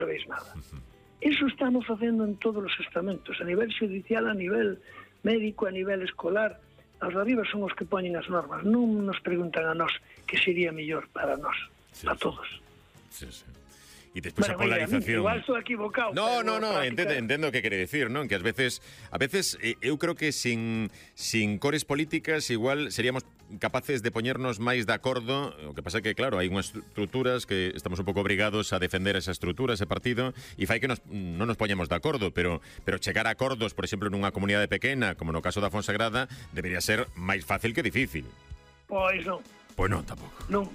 sabéis nada. Iso estamos facendo en todos os estamentos, a nivel judicial, a nivel médico, a nivel escolar. Os de arriba son os que poñen as normas, non nos preguntan a nós que sería mellor para nós, a todos. Sí. E despois a polarización. Igual estou equivocado. No, entendo o que quere dicir, non? Que ás veces eu creo que sin cores políticas igual seríamos capaces de poñernos máis de acordo. O que pasa que, claro, hai unhas estruturas que estamos un pouco obrigados a defender esa estrutura, ese partido, e fai que non nos poñemos de acordo, pero chegar a acordos, por exemplo, nunha comunidade pequena, como no caso da Fonsagrada, debería ser máis fácil que difícil. Pois non. Pois non, tampouco. Non.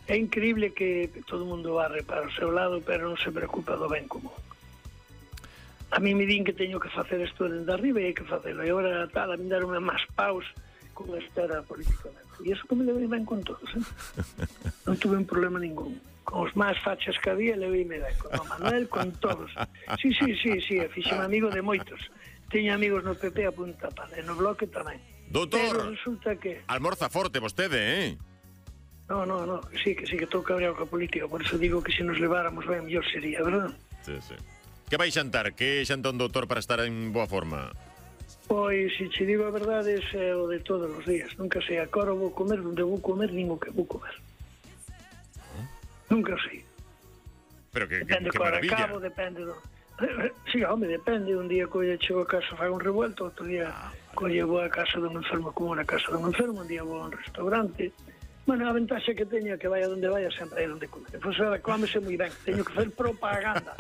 É increíble que todo o mundo barre para o seu lado, pero non se preocupa do ben común. A mí me din que teño que facer isto dende arriba e hai que facelo. E agora tal, a mí darme máis paus con esta era políticamente. E iso que me levei ben con todos, Non tuve un problema ningún. Con os máis fachas que había, levei ben. Con o Manuel, con todos. Sí, fixeme amigo de moitos. Teño amigos no PP a punta pala, e no Bloque tamén. Doutor, pero resulta que... almorza forte vostede, No, sí que estou cabreado coa política, por eso digo que se nos leváramos ben, mellor sería, verdad? Sí. Que vai xantar? Que xanta un doutor para estar en boa forma? Pois, se che digo a verdade, é o de todos os días. Nunca sei a cora vou comer, onde vou comer, nin o que vou comer. Nunca sei. Pero que maravilla. Cabo, depende do... Sí, home, depende. Un día colle chego a casa fago un revuelto, outro día colle vou a casa dun enfermo como na casa dun enfermo, un día vou a un restaurante. Bueno, a ventaxa que teño é que vaya onde vaya sempre hai onde comer. Pois ahora cómese moi ben, teño que facer propaganda.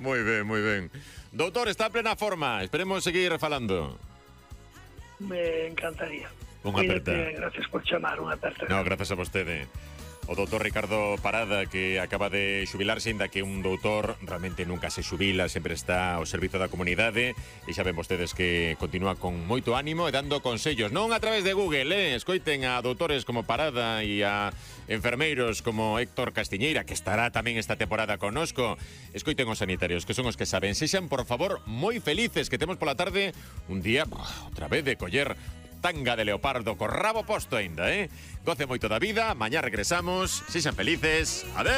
Moi ben. Doutor, está en plena forma, esperemos seguir falando. Me encantaría. Unha aperta. Gracias por chamar, unha aperta. No, gracias a vostede. O doutor Ricardo Parada, que acaba de xubilarse, ainda que un doutor realmente nunca se xubila, sempre está ao servizo da comunidade, e xa ven vostedes que continúa con moito ánimo e dando consellos, non a través de Google, escoiten a doutores como Parada e a enfermeiros como Héctor Castiñeira, que estará tamén esta temporada connosco. Escoiten os sanitarios, que son os que saben. Sexan, por favor, moi felices, que temos pola tarde un día, outra vez, de coller tanga de leopardo co rabo posto aínda, Goce moito da vida, mañá regresamos, sexan felices, adeu.